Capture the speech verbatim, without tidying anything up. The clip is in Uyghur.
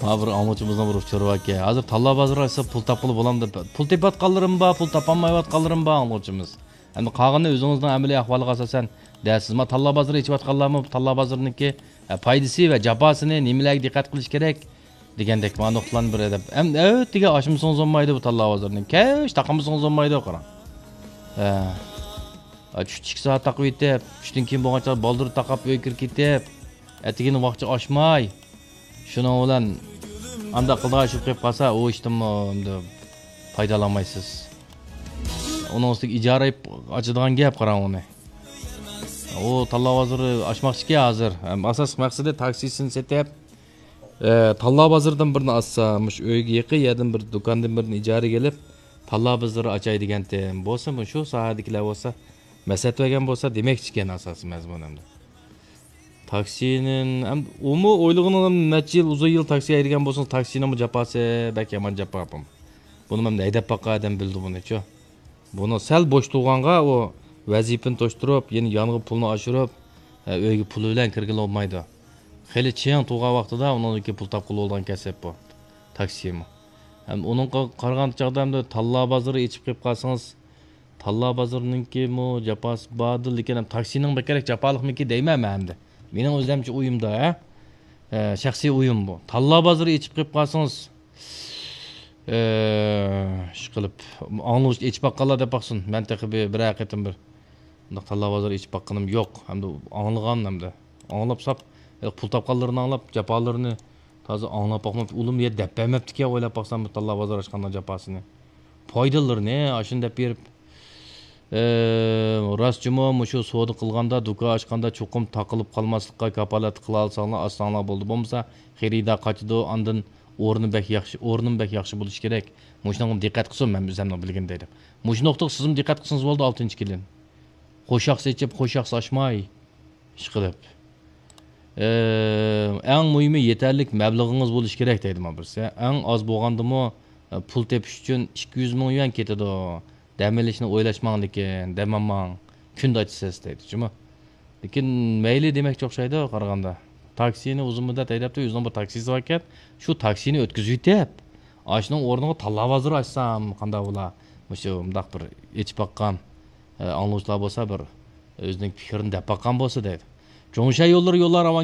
ھا، بىر ئاڭلىغۇچىمىزنىڭ بىر ئۇچۇرى باركەن، ھازىر تاللا بازىرى ئاچسا پۇل تاپقىلى بولامدۇ؟ پۇل تېپىۋاتقانلىرىمۇ بار، پۇل تاپالمايۋاتقانلىرىمۇ بار ئاڭلىغۇچىمىز. ئەمدى قالغىنى ئۆزىڭىزنىڭ ئەمەلىي ئەھۋالىغا ئاساسەن دەرسىز. ما تاللا بازىرى ئېچىۋاتقانلارمۇ تاللا بازىرىنىڭكى، ئە، پايدىسى ۋە جاپاسىنى، نېمىلەرگە دىققەت قىلىش كېرەك دېگەندەك ما نۇقتىلارنى بىر ئەدەپ. ئەم-، ئەتىگە ئاچمىسىڭىز بولمايدۇ بۇ تاللا بازىرىنى. كەچ تاقىمىسىڭىز بولمايدۇ، قاراڭ. ھە. ئا، چۈشتە ئىككى سائەت تاقىۋېتىپ، چۈشتىن كېيىن بولغان چاغدا بالدۇر تاقاپ ئۆيگە كىرىپ كېتىپ، ئەتىگىنى ۋاقچە ئاچماي، شۇنىڭ بىلەن ئانداق قىلىدىغان ئىش بولۇپ قېلىپ قالسا، ئۇ ئىشتىنمۇ ئەمدى پايدىلانمايسىز. ئۇنىڭ ئۈستىگە ئىجارە ئېلىپ ئاچىدىغان گەپ، قاراڭ ئۇنى. ئۇ تاللا بازىرى ئاچماقچىكەن ھازىر. ھەم ئاساسلىق مەقسىتى تاكسىسىنى سېتىپ، ئە، تاللا بازىرىدىن بىرنى ئاچسا، مۇشۇ ئۆيگە يېقىن يەردىن بىر دۇكاندىن بىرنى ئىجارىگە ئېلىپ، تاللا بازىرى ئاچاي دېگەنتىم. بولسا، مۇشۇ ساھەدىكىلەر بولسا، مەسلىھەت بەرگەن بولسا دېمەكچىكەن ئاساسىي مەزمۇن ئەمدى. تاكسىنى، ئەم-، ئۇمۇ ئويلىغىنىڭ نەچچە يىل، ئۇزۇن يىل تاكسى ھەيدىگەن بولسىڭىز، تاكسىنىڭمۇ جاپاسى بەك يامان جاپا بۇ. بۇنى مەن ھەيدەپ باققان ئادەم بىلىدۇ بۇنىچۇ. بۇنى سەل بوش تۇرغانغا ئۇ ۋەزىپىنى توشتۇرۇپ، يەنە يانغا پۇلنى ئاشۇرۇپ، ئە، ئۆيگە پۇلى بىلەن كىرگىلى بولمايدۇ. خېلى چىڭ تۇرغان ۋاقتىدا ئۇنىڭدىن كېيىن پۇل تاپقىلى بولىدىغان كەسىپ بۇ، تاكسىمۇ. ھەم ئۇنىڭغا قارىغان چاغدا ئەمدى تاللا بازىرى ئېچىپ قېلىپ قالسىڭىز، تاللا بازىرىنىڭكىمۇ جاپاسى باردۇ، لېكىن ھەم تاكسىنىڭ بەكرەك جاپالىقمىكى دەيمەن مەن ئەمدى. مېنىڭ ئۆزۈمچە ئويۇمدا، ھە؟ ئە، شەخسىي ئويۇم بۇ. تاللا بازىرى ئېچىپ قېلىپ قالسىڭىز، ئىشقىلىپ، ئاڭلىغۇچ ئېچىپ باققانلار دەپ باقسۇن. مەن تېخى بىر، بىرەر قېتىم بىر مۇنداق تاللا بازىرى ئېچىپ باققىنىم يوق. ھەمدە ئاڭلىغان ھەمدە ئاڭلاپ ساپ، پۇل تاپقانلىرىنى ئاڭلاپ، جاپالىرىنى تازا ئاڭلاپ باقماپتۇ. ئۇلۇم يەر دەپ بەرمەپتىكەن ئويلاپ باقسام، بۇ تاللا بازىرى ئاچقاندا جاپاسىنى. پايدىلىرىنى ئاشۇنى دەپ بېرىپ، ئى، راست جۇمۇ، مۇشۇ سودا قىلغاندا، دۇكان ئاچقاندا چوقۇم تاقىلىپ قالماسلىققا كاپالەتلىك قىلالىساڭلار، ئاچساڭلار بولدى. بولمىسا خېرىدار قاچىدۇ، ئاندىن ئورنى بەك ياخشى، ئورنىمۇ بەك ياخشى بولۇشى كېرەك. مۇشۇنىڭغا دىققەت قىلسۇن، مەن ئۆزۈمنىڭ بىلگىنىدەك دەپ. مۇشۇ نۇقتىغا سىزمۇ دىققەت قىلسىڭىز بولدى، ئالتىنچى كېلىن. خوش ياخشى ئېچىپ، خوش ياخشى ئاچماي. ئىشقىلىپ. ئى، ئەڭ مۇھىمى يېتەرلىك مەبلىغىڭىز بولۇشى كېرەك دەيدۇ مانا بىرسى. ئەڭ ئاز بولغاندىمۇ، ئى، پۇل تېپىش ئۈچۈن ئىككى يۈز مىڭ يۈەن كېتىدۇ. دەم ئېلىشنى ئويلاشماڭ، لېكىن دەم ئالماڭ. كۈندە ئاچىسىز دەيدۇ جۇمۇ. لېكىن مەيلى دېمەكچى ئوخشايدۇ قارىغاندا. تاكسىنى ئۇزۇن مۇددەت ھەيدەپتۇ، ئۆزىنىڭ بىر تاكسىسى باركەن. شۇ تاكسىنى ئۆتكۈزۈۋېتىپ، ئاشۇنىڭ ئورنىغا تاللا بازىرى ئاچسام قانداق بولا؟ مۇشۇ مۇنداق بىر ئېچىپ باققان، ئى، ئاڭلىغۇچىلار بولسا بىر ئۆزىنىڭ پىكرىنى دەپ باققان بولسا دەيدۇ. جۇڭشەن يوللىرى يوللار راۋان